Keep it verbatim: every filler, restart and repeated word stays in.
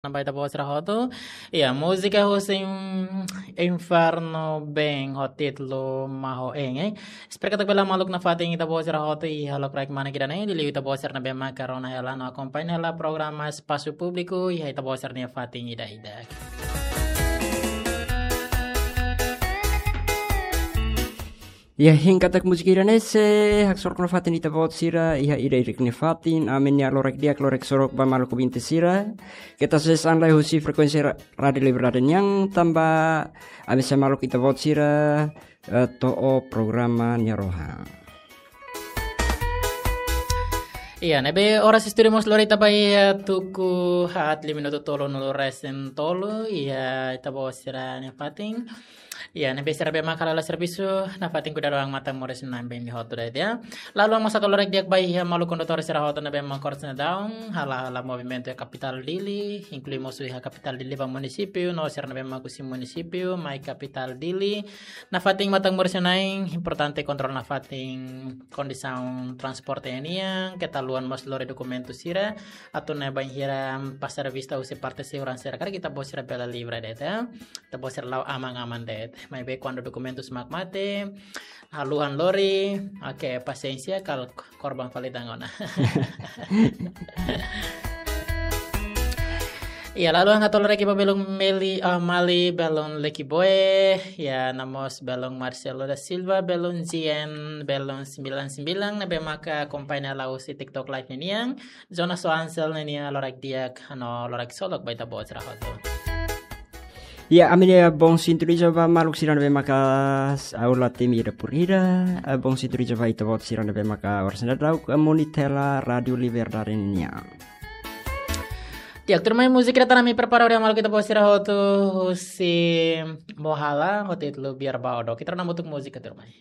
Nambah ita-boot sira hotu. Iya, múzika husi Inferno Band ho títulu Maho Eng, eh. Espera katak bele maluk nafatin ita-boot sira hotu iha lokraik manek ida-ne'e, liuliu ita-boot sira ne'ebé maka rona hela no akompaña hela programa Espasu Públiku iha ita-boot sira-nia fatin ida-idak. Iha hein katak múzika ida-ne'e sei haksolok nafatin ita-boot sira iha ida-idak nia fatin, ami-nia loron di'ak, loron sorumutu ba maluk ouvinte sira. Keta hasoru an lai husi frekuénsia ra-, Rádiu Liberdade nian, tanba ami sei maluk ita-boot sira, eh, to'o programa nia rohan. Iya, ne'ebé oras estúdiu mós lori ita ba iha tuku haat liu minutu tolunulu-resin-tolu, iha ita-boot sira-nia fatin. Iya, ne'ebé sira ne'ebé maka hala'o servisu, nafatin kuidadu an matan moris-na'in ba imi hotu de'it, ya. Lalu, ami mós hato'o loron di'ak ba iha maluk kondutór sira hotu ne'ebé maka oras ne'e daudaun hala'o, hala'o movimentu iha kapitál Dili, inklui mós iha kapitál Dili ba munisípiu, no sira ne'ebé maka husi munisípiu mai kapitál Dili. Nafatin matan moris-na'in, importante kontrola nafatin kondisaun transporte nian, keta haluha mós lori dokumentu sira, atu nune'e bainhira pasa revista husi parte seguransa sira karik ita-boot sira bele livre de'it, ya. Ita-boot sira la'o aman-aman de'it. Maibé kuandu dokumentus mak mate, haluha lori, oke, pasiénsia, kala korban fali tan ona. Iya, lalu hato'o loron di'ak ba belun Meli, ah, Mali, belun Leki Boe, ya, no mós belun Marcelo da Silva, belun Zien, belun sembilan sembilan, ne'ebé maka akompaña hela husi TikTok Live ninian, Jonas Wansel ninia loron di'ak, no loron solok ba ita-boot sira hotu. Ya, ami-nia bom sintoniza ba maluk sira ne'ebé maka aula temi ida por ida, eh, bom sintoniza ba ita-boot sira ne'ebé maka oras ne'e daudaun, eh, monitor hela Rádiu Liberdade nian. Di'ak, tuirmai, múzika ida tan ami prepara hodi maluk ita-boot sira hotu husi Mohala, ho títulu Biar Ba Odok. Ita rona hamutuk múzika, tuirmai.